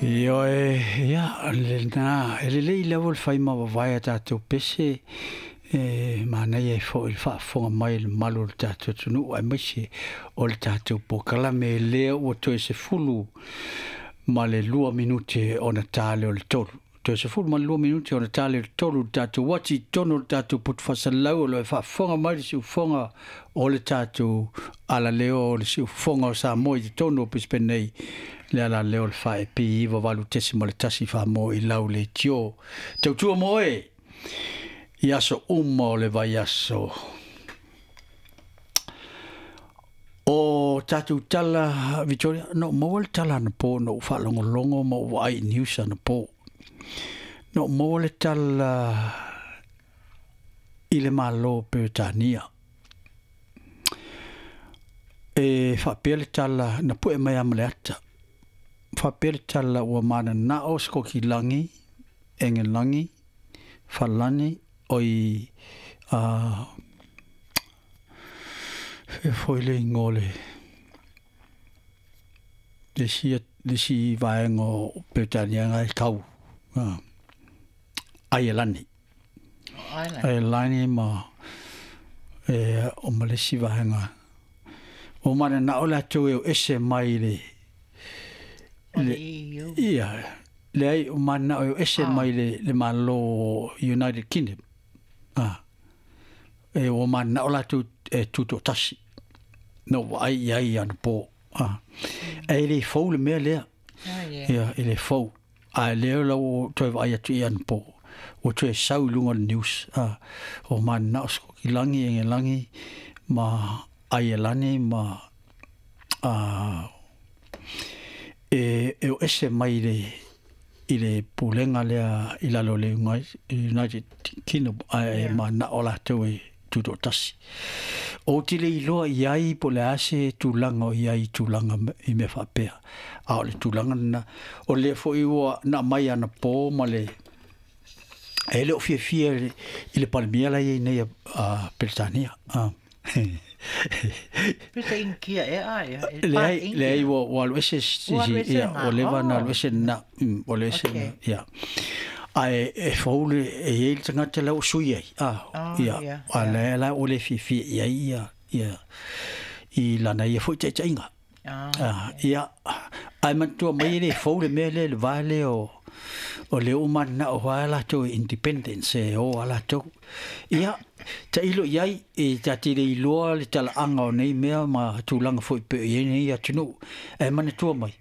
Ioe, ia, lena, e lelei lava le fai ma vavae a tatou pese, e manaia ai foi le faafofoga mai le mamalu o le tatou atunuu aemaise o le tatou polokalame lea ua toe 12 minute ona ta lea o le 3. Toe 12 minute ona ta lea o le 3 le tatou uati i totonu o le tatou poto faasalalau o lo o faafofoga mai le siufofoga o le tatou alaleo o le siufofoga o Samoa i totonu o Brisbane nei, le alaleo o le 4AP 98.1 Samoa i lau leitio. Tautua mo oe i aso uma o le vaiaso. O tatou tala, Victoria, na ou maua le tala anapo, na ou faalogologo ma ou vaai i news anapo. Na ou maua le tala i le Malo o Peretania. E faapea le tala, na pue mai lava ma le ata. Faapea le tala ua mananao Sikokilagi, Engelagi, Falani, oi a fea foi le igoa o le isi, le isi vaega o Peretania na e tau Aielani. Aielani ma e o ma le isi vaega. Ua mananao latou e o ese mai le le EU. Ia, leai, ua mananao e o ese mai le Malo o United Kingdom. E ua mananao latou e tutoatasi. Na ou vaai i ai anapo. Ae le fou le mea lea. Ia, e le fou. Ae lea la ua toe vaai atu i anapo, ua toe sau i luga o le news. Ua mananao Sikokilagi, Engelagi ma Aielani ma e o ese mai i le pulega lea i lalo o le United Kingdom, ae mananao latou e tutoatasi. Ou te le iloa i ai po o le a se tulaga o i ai i tulaga i mea faapea. A o le tulaga lena, o lea foi ua na aumai anapo ma le e le o fiafia i le Palemia la e i ai nei a Peretania. Pe se Inikia ea aia? Leai, leai, ua alu ese, ia, ua leva ona alu ese lena, ua alu ese, ia. Ae e fou le, e i ai le tagata la ua sui ai, ia, a lea la ua le fiafia i ai ia, ia, i lana ia foi taitaiga. Ia, ae manatua mai e le fou le mea lea i le va lea o lea ua mananao lava latou i independence e o lava latou. Ia, tailo i ai, e ta te le iloa le talaaga o nei mea ma tulaga foi pei o i ai nei atunuu. Ae manatua mai,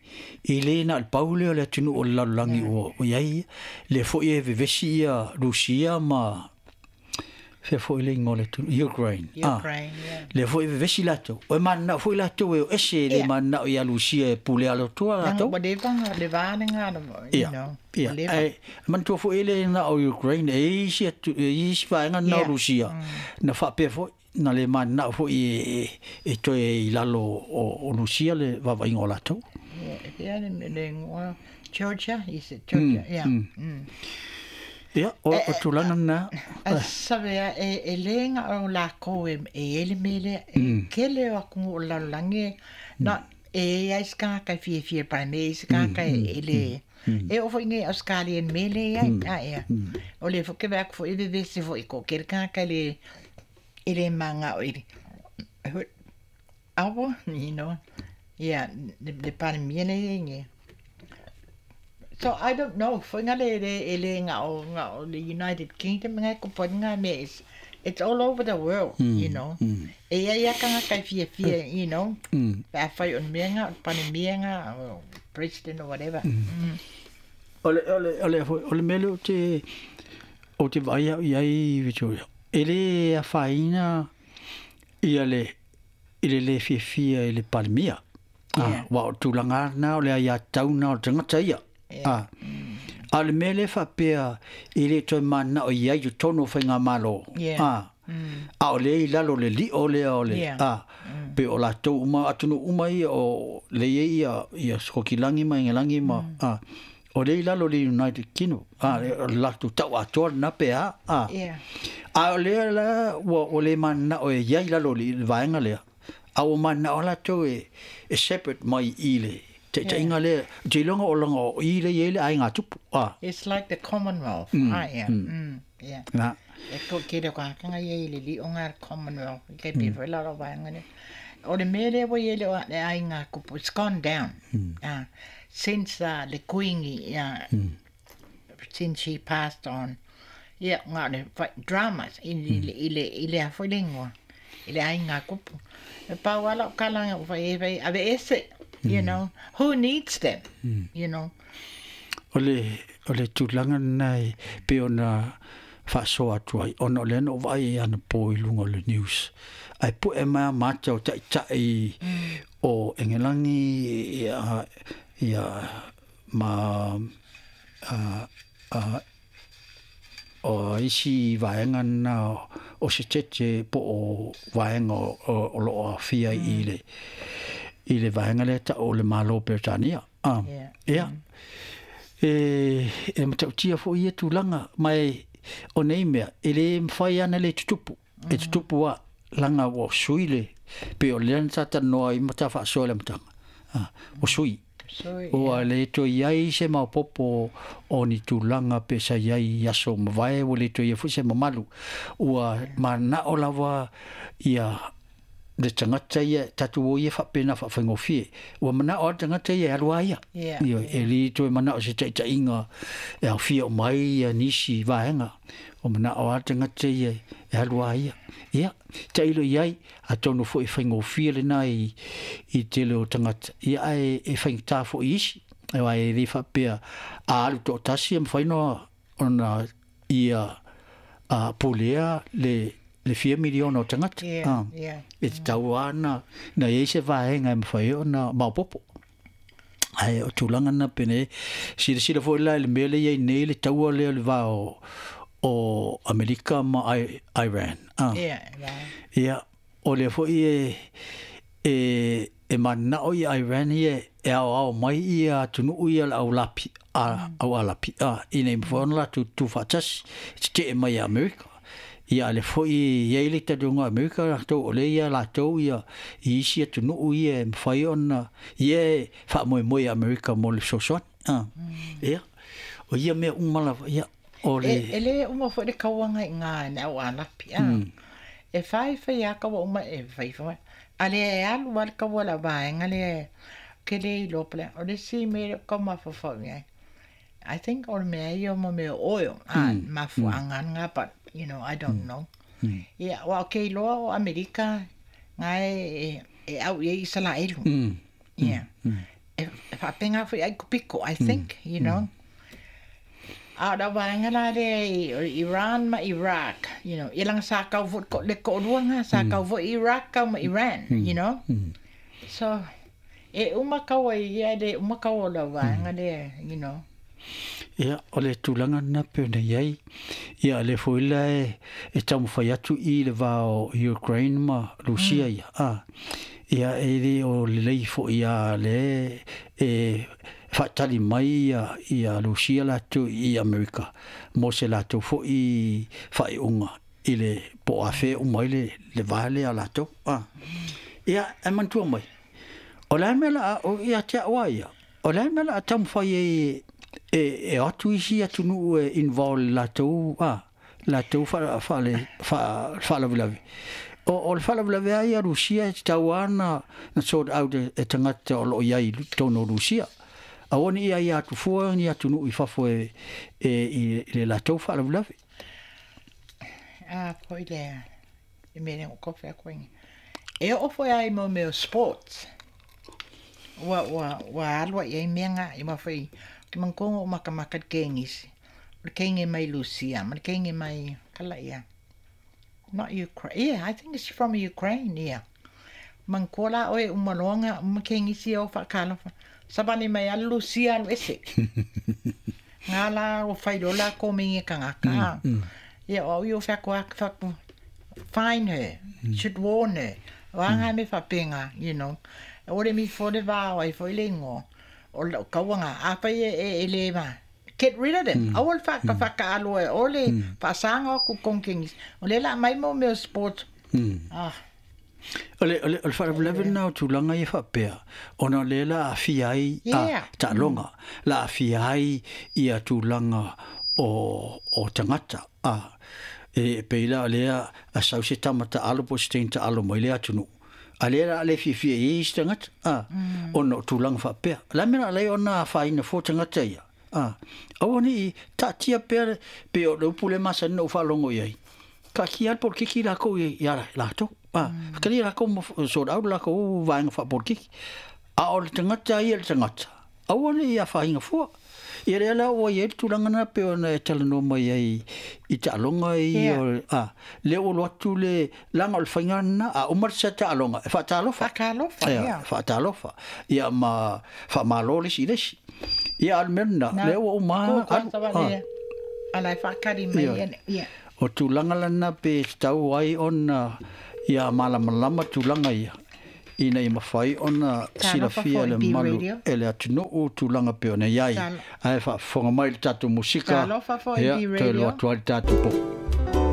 e le na o le pau lea o le atunuu o le lalolagi ua i ai, lea foi e vevesi ia Rusia ma fea foi le igoa o le atunuu, Ukraine. Ukraine, yeah. Lea foi e vevesi latou. E mananao foi latou e o ese, e le mananao ia Rusia e pule alotoa latou. Ua leva le va lena, you know. Ia, ae manatua foi e le na o Ukraine, e i isi, e i isi vaega na o Rusia, na faapea foi, na le mananao foi e toe i lalo o Rusia le vaavaiga o latou. Ia, le igoa Georgia, is it Georgia? Yeah. Ia, o tulaga lena. Sabe a, e le na o lakou e i ai le mea lea, e tele o atunuu o le lalolagi, na e i ai se tagata e fiafia i le Palemia, e i ai se tagata e le, e oo foi nei Ausetalia i le mea lea e i ai, a ea. O lea foi ke vaai atu foi e vevesi foi i toatele tagata e le manao i le awa, you know, ia, le Palemia lea e i ai nei. So I don't know, foi nga le e le nga o nga o le United Kingdom nga e kopo nga mea is it's all over the world, you know. E ia ia tagata e fiafia, you know, pe afai o le mea nga, o le Palemia nga, o president or whatever. O le o le o le o le mea lea ou te vaai au i ai, Victoria, e le afaina ia le i le le fiafia i le Palemia. Aua o le tulaga lena o le aiatatau lena o le tagata ia. A o le mea lea faapea e le toe mananao i ai i totonu o faigamalo, a o lea i lalo o le lio lea o le, pei o latou uma, atunuu uma ia o lea e i ai ia Sikokilagi ma Engelagi ma, o lea i lalo o le United Kingdom, o le latou tau atoa lena pe a, a o lea la ua le mananao e i ai i lalo o le vaega lea, a ua mananao latou e separate mai i le Taitaiga lea, ou te iloa o laga o i lea e i ai le aiga tupu. A. It's like the Commonwealth. Ah, yeah. Yeah. Na. E ko ke le ka ia i le li o ngā Commonwealth. Ke pe foi la la vaenga ne. O le mea lea ua i ai le le aiga kupu, it's gone down. Since le Kuini, yeah, since she passed on. Ia, ngā le dramas i le i le i le a foi le ingoa, i le aiga kupu. E pau lava lau kalanga ua fai e fai ave ese, you know, who needs them, you know. O le, o le tulaga lena e pei ona faasoa atu ai, ona o lea na ou vaai ai anapo i luga o le news, ae pue mai lava mata o taitai o Engelagi ia, ia ma a, a, o isi vaega na o se tete po o vaega o lo o aafia i le vaega lea ta'u o le Malo o Peretania. A, ia, e matautia foi ia tulaga, ma e o nei mea, e le mafai lava ona le tutupu, e tutupu lava, leaga ua sui le, pei o lea na ta talanoa ai ma ta faasoa i le amataga, a, ua sui. Ua le toe i ai se maopoopo o ni tulaga pe sa i ai i aso mavae, ua le toe i ai foi se mamalu. Ua mananao lava ia le tagata ia, tatou o ia faapena faafaigofie. Ua manao lava le tagata ia e alu lava ia. Ioe, e le toe manao i se taitaiga e aofia uma ai ia nisi vaega. Ua manao lava le tagata ia e alu lava ia. Ia, tailo i ai, atonu foi e faigofie lena i i tele o tagata, ia ae e faigata foi i isi, aua e le faapea a alu toatasi e mafai ona ia pulea le fia miliona o tagata. E tatau lava ona i ai se vaega e mafai ai ona maopoopo. Ae o tulaga na penei, silasila foi la i le mea lea e i ai nei le taua lea o le va o Amerika ma Iran. Ia, o lea foi e mananao ia Iran ia e aoao mai ia atunuu ia le au lapi, au Alapi, ina ia mafai ona latou tutu faatasi e tetee mai ia Amerika. Ia a o lea foi e i ai le talitonuga o Amerika latou o lea e ia latou ia i isi atunuu ia e mafai ona ia e faamoemoe i Amerika mo le fesoasoani. Ia, o ia mea uma lava, ia, o le. E le uma foi le kauaga i ngā i au Alapi, a. E fai fai a kaua uma e fai fai. A lea e alu lava le kaua la vaega lea ke le iloa po o le a. O le isi mea lea ou tau mafaufau i ai, I think o le mea ia mo mea o oil, a, mafuaaga lena but you know, I don't know. Ia, aua ou te iloa o Amerika na e au i ai Isaraelu. Ia. E faapena foi ai Kupiko, I think, you know. A o le vaega la lea i Iran ma Iraq, you know, ia leaga sa kau foi le toalua na, sa kau foi Iraq kau ma Iran, you know. So, e uma kaua i ia, e le uma kaua o le vaega lea, you know. Ia, o le tulaga lena pei ona i ai, ia o lea foi la e taumafai atu i le va o Ukraine ma Rusia ia, a, ia e le o lelei foi a le e faatali mai ia Rusia latou i Amerika mo se latou foi faaiuga i le po o afea uma ai le va lea a latou. A, ia, e manatua mai, o le a le mea o le a, ia te au lava ia, O le a le mea o le a taumafai ai e o atu isi atunuu e involve i le latou, a, latou faalavelave. O le faalavelave lava ia a Rusia e tatau lava ona sort out e tagata o lo o i ai i totonu o Rusia. Aua ne i aia atu fua ni atunuu i fafo e i le latou faalavelave. A foi lea i mea lea ua kofi atu ai nei. E oo foi lava i mea o sports, ua, ua, ua alu ai i ai mea na, aua foi ou te manatua na ou makamaka i le kenisi, o le kene mai Lusia ma le kene mai, kala ia, not Ukraine, yeah, I think it's from Ukraine, yeah. Manatua la oe uma loa na uma kenisi e o faatalofa, savali mai lava le Lusia alu ese. Nga la ua fai loa lakou me ia tagata, a. Ia o au ia ua fai atu lava, fai atu, fine her, should warn her. O a ngā mea faapena, you know. Aua le mifo le va o ai foi le ingoa o lau tauaga. Afai e le va, get rid of them. Aua le whakaaloa e oe le whaasaga o ku kongkengis. O lea la aumai mo mea o sports. Ah. O le, o le, o le faalavelave lena o tulaga ia faapea, ona o lea la aafia ai a, taaloga, la aafia ai ia tulaga o, o tagata. A, e pei la o lea a sau se tama taalo po o se teine taalo mai le atunuu, a lea la le fiafia i ai isi tagata, a, ona o tulaga faapea. O le a le mea o le a ala ai ona afaina fua tagata ia? A, aua ne i taatia pea, pei o le upu lea e masani ona ou faalogo i ai, taatia lava le polokiki lakou ia latou. A, faitalia lakou ma sort out le lakou vaega faapolokiki. A o le tagata ia le tagata, aua ne i afaina fua. Ia lea la ua i ai le tulaga lena pei ona e talanoa mai ai i taaloga ia, a, lea ua alu atu le, leaga o le faiga lena, a uma le taaloga, e faatalofa. Faatalofa, ia. Faatalofa. Ia ma faamalo le isi i le isi. Ia a o le mea lena, lea ua uma alu. Ala e faatali mai ia. O tulaga lana pe tatau ai ona ia malamalama tulaga ia ina ia mafai ona silafia e le mamalu e le atunuu tulaga pei ona i ai. Ae faafofoga mai i le tatou musika, ia, toe alu atu ai le tatou